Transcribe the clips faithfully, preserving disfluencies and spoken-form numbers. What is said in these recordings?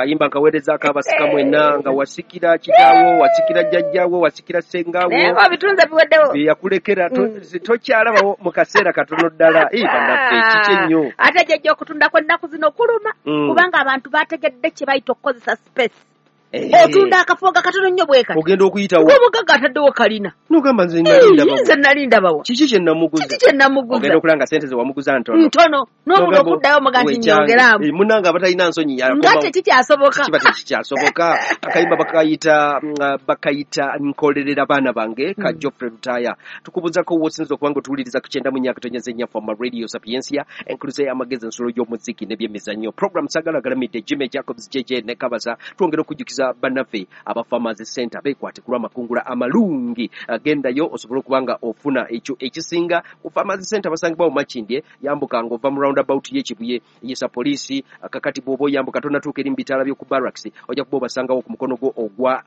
Akayimba nkaweerezaako abasika mwenna, nga wasikira kitaawo, wasikira jjajjaawo, wasikira ssengaawo, naye nga obitunze biweddewo, bye yakulekera to- Mm. tokyalabawo mu kaseera katono ddala. Eh, bannaffe, kiki ennyo. Ate jjajja, okutunda kw'ennaku zino kuluma, Mm. kubanga abantu bategedde kye bayita okukozesa space. Eh, Otunda akafo nga katono nnyo bwe kati, ogenda okuyitawo, ng'omugagga ataddewo kalina. Nogamba, nze nali ndabawo. Nze nali ndabawa. Kiki kye namuguza? Kiki kye namuguza? Ogenda okulaba nga sente ze wamuguza ntono. Ntono, n'omuntu Nogamba, okuddayo omuga nti wekyange. nyongeraamu. Eh, munnange abatalina nsonyi Nga yakomawo. tekikyasoboka. Kiba tekikyasoboka. Akayimba bakayita mm, bakayita Nkolerera Baana Bange, ka Mm. Geoffrey Lutaaya. Tukubuzako wosinza okuba nga otuwuliriza ku kyenda mu nnya akatonyeza ennya Fama Radio, Sapiensia, enkuluze y'amagezi, ensulo y'omuziki n'ebyemizannyo. Program Sagala Galamidde, Jimmy Jacobs J J ne Kabasa. Twongera okujjukiza bannaffe aba Farmers Center beekwate ku lw'amakungula amalungi. Gendayo osobole okuba nga ofuna ekyo ekisinga ku Farmers Center. Basangibwa mu Makindye, yambuka ng'ova mu roundabout y'Ekibuye, yesa poliisi. Kakati bw'oba oyambuka tonatuuka eri mu bitaala by'oku barracks, ojja kuba obasangawo ku mukono gwo ogwa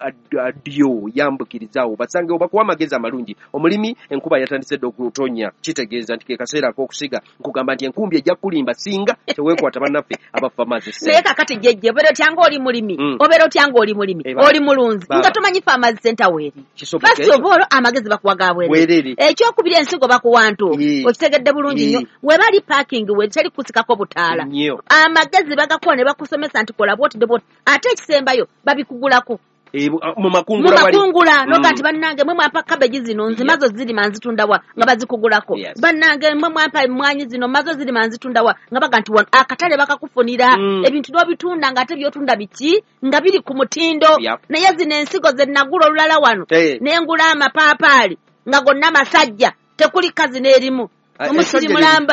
ddyo. Yambukirizaawo basangewo bakuwa amagezi amalungi. Omulimi, enkuba yatandise dda okutonya, kitegeeza nti ke kaseera ak'okusiga. Nkugamba nti enkumbi ejja kulimba singa teweekwata bannaffe aba Farmers Naye Center. kakati jjejje, obeera otya ng'oli mulimi? Mm. Obeera otya ng'oli mulimi, Eh, baba. oli mulunzi, Baba. nga tomanyi Farmers Center weeri? Kisoboka First ekyo? of all, amagezi bakuwa ga bwereere. Bwereere. Ekyokubiri, ensigo bakuwa ntuufu. Ye. Okitegedde bulungi Ye. nnyo. Webali parking, we teri kusikako butaala. Nnyo. Amagezi bagakuwa ne bakusomesa nti kola bwoti ne bwoti, ate ekisembayo babikugulako. Eh, bu- mu Mu makungula wali. makungula noga Mm. nti bannange mwe mwampa cabbage zino, nze Yeah. mazo zirima nzitundawa, nga bazikugulako. Yes. Bannange mwe mwampa emmwanyi zino, mazo zirima nzitundawa, nga baga nti wano akatale bakakufunira. Mm. Ebintu n'obitunda ng'ate byotunda biki nga biri ku mutindo. Yep. Naye zino ensigo ze nagula olulala wano, Eh. nengula amapaapaali nga gonna masajja, tekuli kazi n'erimu. Ah, Omusiri essajja mulamba.